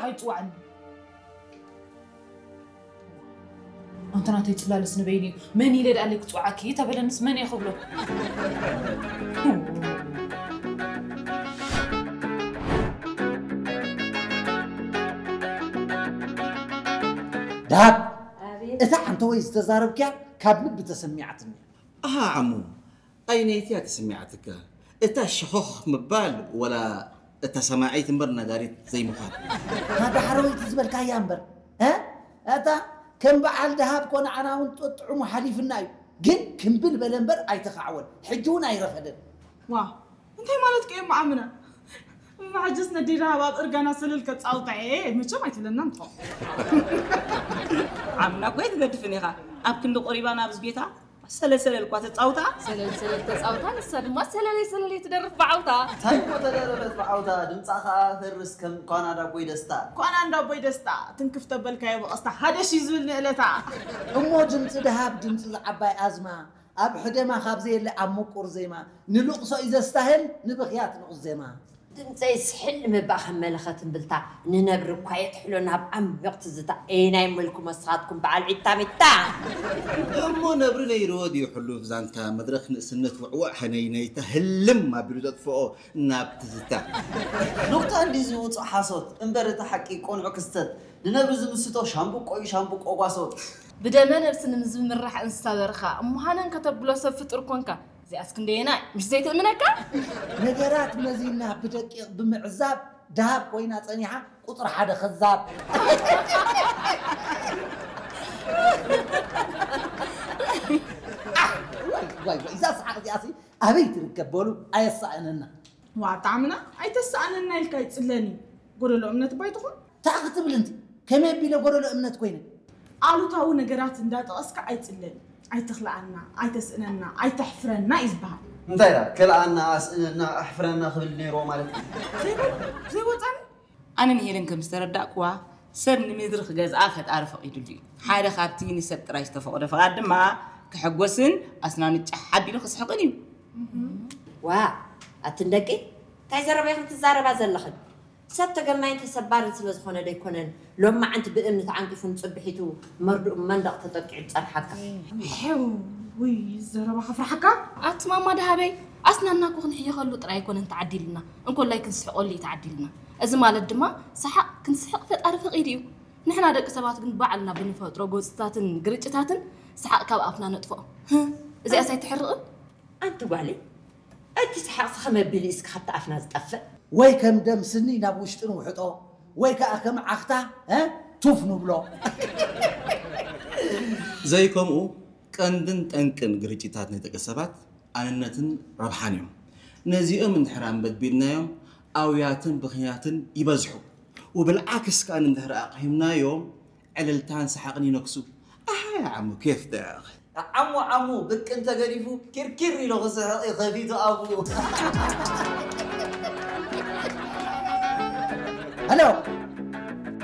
ከይፅዋዕኒ። ኣንተ ናተይ ፅላለስ ንበይኑ እዩ። መን ኢለ ደኣለይ ክፅዋዓኪ ተበለንስ መን እየ ክብሎ? ደሃብ ኣቤት እታ ሓንተወይ ዝተዛረብክያ ካብ ልቢ ተሰሚዓትኒ። ኣሃ ዓሙ፣ ኣይነይቲ እያ ተሰሚዓትካ። እታ ሸኾኽ ምባል ወላ እታ ሰማዒት እምበር ነጋሪት ዘይምዃን። እታ ዳሕረወይቲ ዝበልካያ እምበር እ? እታ ከም በዓል ደሃብ ኮነ ዓና እውን ጥዑሙ ሓሊፍና እዩ። ግን ክምብል በለ እምበር ኣይተኻዕወን። ሕጂ እውን ኣይረፈደን። ዋ እንታይ ማለት ከ እሞ ኣምና ብሓጀስ ነዲ ደሃብ ኣብ እርጋና ሰለል ከፃውታ እየ መቸም ኣይትለናን ትኾ ዓምና እኮ ኣይትገድፍን ኢኻ። ኣብ ክንዲ ቆሪባ ናብዚ ቤታ ሰለል ሰለል እኳ ተፃውታ። ሰለል ሰለል ተፃውታ ንሳ ድማ ሰለለይ ሰለለይ ትደርፍ ብዓውታ። እንታይ እኮ ተደረፈት ብዓውታ ድምፃ ከዓ ፈርስ ከም ኳና ዳቦይ ደስታ። ኳና እንዳቦይ ደስታ ትንክፍ ተበልካዮ ብቐስታ ሓደ ሺ ዝብል ንእለታ። እሞ ድምፂ ደሃብ ድምፂ ዝዓባይ ኣዝማ ኣብ ሕደማ ካብ ዘየለ ኣብ ምቁር ዜማ ንልቕሶ እዩ ዘስታህል ንብኽያት ንቑስ ዜማ። ድምፀይ ስሕል ንምባእ ከም መለኸት እምብልታ ንነብሪ እኳ የጥሕሎ ናብ ዓሚቕ ትዝታ። ኤይ ናይ መልኩም ኣስኻትኩም በዓል ዒታ ሚታ። እሞ ነብሪ ነይርዎ ድዩ ሕሉፍ ዛንታ መድረኽ ንእስነት ውዕውዕ ሀነይነይታ ህልም ኣቢሉ ዘጥፍኦ ናብ ትዝታ። ኑቕታ እንዲ ዝውፁ ሓሶት እምበር እቲ ሓቂ ቆንዑ ክስተት ንነብሪ ዝምስቶ ሻምብቆ እዩ ሻምብቆ ጓሶት። ብደመ ነብሲ ንምዝምራሕ እንስሳ በርኻ እሞ ሃነን ከተብሎ ሰብ ፍጡር ኮንካ። እዚኣስ ክንደየናይ ምሽ ዘይትእምነካ? ነገራት መዚና ብደቂቕ ብምዕዛብ ደሃብ ኮይና ጸኒሓ ቁፅሪ ሓደ ከዛብ። ዋይ ዋይ እዛ ሰሓቕ እዚኣሲ ኣበይ ትርከብ በሉ ኣየሳእነና። ዋ ጣዕምና ኣይተሰኣነና ኢልካ ይፅለኒ። ጎደሎ እምነት ባይትኹን ታዕ ክትብል እንቲ ከመይ ኣቢለ ጎደሎ እምነት ኮይነ። ኣሉታዊ ነገራት እንዳጠቐስካ ኣይፅለኒ። ኣይትኽልኣና፣ ኣይተስእነና፣ ኣይተሕፍረና እዩ ዝበሃል። እንታይ ዳ ክልኣና ኣስእነና ኣሕፍረና ክብል ነይርዎ ማለት እዩ። ዘይወፃኒ ኣነን ሄለን ከም ዝተረዳእኩዋ ሰብ ንምድሪ ክገዝኣ ፈጣሪ ፈቒዱሉ እዩ። ሓደ ካብቲ ንሰብ ጥራይ ዝተፈቕዶ ፈቓድ ድማ ክሕጎስን ኣስናኑ ጫሕ ኣቢሉ ክስሕቕን እዩ። ዋ ኣትን ደቂ እንታይ ዘረባ ኢኽን ትዛረባ ዘለኽን? ሰብ ተገናይን ተሰባርን ስለ ዝኾነ ደይኮነን ሎማዓንቲ ብእምኒ ተዓንቂፉ ንፅብሒቱ መርድኡ መንደቕ ተጠቂዑ ዝፀንሓካ። ሕው ውይ ዘረባ ከፍርሓካ። ኣቲ ማማ ደሃበይ ኣስናና እኮ ክንሕየኸሉ ጥራይ ኣይኮነን ተዓዲልና እንኮላይ ክንስሕቐሉ እዩ ተዓዲልና። እዚ ማለት ድማ ሰሓቕ ክንስሕቕ ፈጣሪ ፈቒዱ እዩ። ንሕና ደቂ ሰባት ግን ባዕልና ብንፈጥሮ ጎፅታትን ግርጭታትን ሰሓቕ ካብ ኣፍና ነጥፍኦ። እዚኣስ ኣይትሕርቕን? ኣንቲ ጓለይ እቲ ሰሓቕሲ ከመይ ኣቢሉ እስኪ ካብቲ ኣፍና ዝጠፍእ? ወይ ከም ደም ስኒ ናብ ውሽጢ ንውሕጦ ወይ ከዓ ከም ዓኽታ እ? ቱፍ ንብሎ። ዘይከምኡ ቀንድን ጠንቅን ግርጭታት ናይ ደቂ ሰባት ኣንነትን ረብሓን እዮም። ነዚኦም እንድሕር ኣንበድቢድናዮም ኣውያትን ብኽያትን ይበዝሑ። وبالعكس كأن እንድሕር ኣቕሂምናዮም ዕልልታን ሰሓቕን ይነግሱ። ኣሃ ዓሙ ኬፍ ደያኽ። ዓሙ ዓሙ ብቅ እንተገዲፉ ኪርኪር ኢሉ ክስሕቕ እዩ ከፊቱ ኣፉ። ሄሎ